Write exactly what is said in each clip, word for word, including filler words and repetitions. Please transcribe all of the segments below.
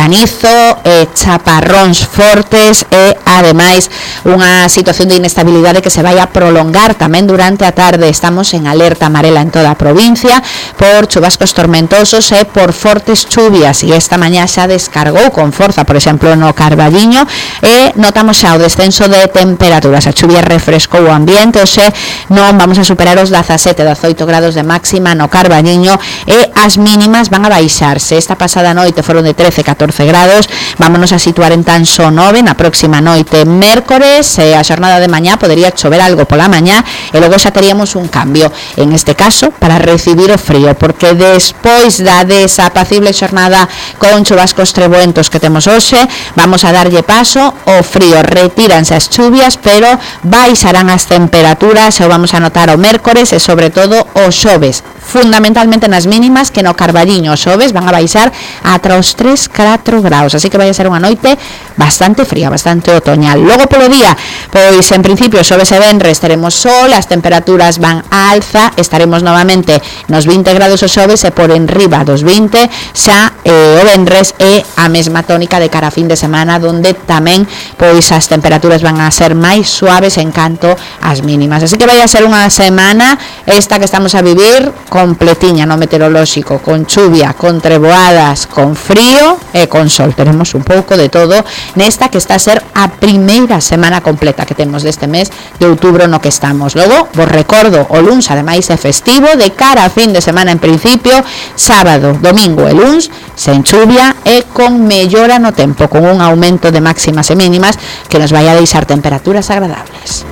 granizo, eh, chaparróns fortes e, ademais, unha situación de inestabilidade que se vai a prolongar tamén durante a tarde. Estamos en alerta amarela en toda a provincia por chubascos tormentosos e por fortes chuvias, e esta mañá xa descargou con forza, por exemplo, no Carballiño, e notamos xa o descenso de temperaturas. A chuvia refrescou o ambiente, oxe, non vamos a superar os dezasete, dezoito grados de máxima no Carballiño, e as mínimas van a baixarse. Esta pasada noite foron de trece, catorce grados, vámonos a situar en tan só nove na próxima noite mércores. E a xornada de mañá podería chover algo pola mañá e logo xa teríamos un cambio, en este caso para recibir o frío, porque despois da desapacible xornada con chubascos trebuentos que temos hoxe, vamos a darlle paso ao frío. Retíranse as chuvias, pero baixarán as temperaturas, e o vamos a notar o mércores e sobre todo o xoves, fundamentalmente nas mínimas, que no Carballiño os xoves van a baixar ata os tres, catro graus, así que vai a ser unha noite bastante fría, bastante otoñal. Logo polo día, pois en principio xoves e venres teremos sol, as temperaturas van a alza, estaremos novamente nos vinte grados os xoves e por enriba dos vinte xa eh, o venres, e a mesma tónica de cara a fin de semana, donde tamén pois as temperaturas van a ser máis suaves en canto ás mínimas. Así que vai a ser unha semana esta que estamos a vivir completiña no meteorolóxico, con chuvia, con treboadas, con frío e con sol. Tenemos un pouco de todo nesta que está a ser a primeira semana completa que temos deste mes de outubro no que estamos. Logo, vos recordo, o luns ademais é festivo, de cara a fin de semana en principio, sábado, domingo e luns, sen chuvia e con mellora no tempo, con un aumento de máximas e mínimas que nos vai a deixar temperaturas agradables.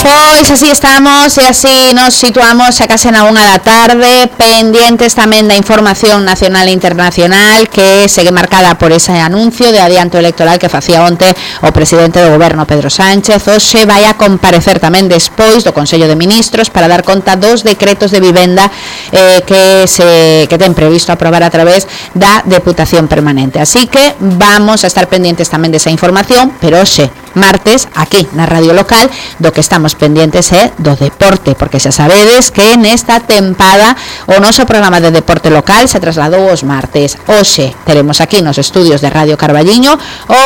Pois así estamos e así nos situamos xa case na unha da tarde, pendientes tamén da información nacional e internacional que segue marcada por ese anuncio de adianto electoral que facía onte o presidente do goberno, Pedro Sánchez. Hoxe vai a comparecer tamén despois do Consello de Ministros para dar conta dos decretos de vivenda eh, que se que ten previsto aprobar a través da Deputación Permanente. Así que vamos a estar pendientes tamén desa información, pero hoxe, martes, aquí na radio local, do que estamos pendientes é do deporte, porque xa sabedes que nesta tempada o noso programa de deporte local se trasladou os martes. Hoxe teremos aquí nos estudios de Radio Carballiño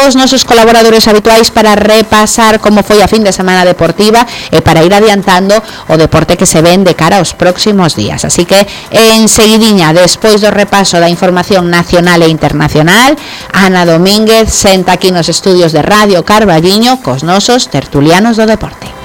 os nosos colaboradores habituais para repasar como foi a fin de semana deportiva e para ir adiantando o deporte que se ven de cara aos próximos días. Así que enseguidiña, despois do repaso da información nacional e internacional, Ana Domínguez senta aquí nos estudios de Radio Carballiño cos nosos tertulianos do deporte.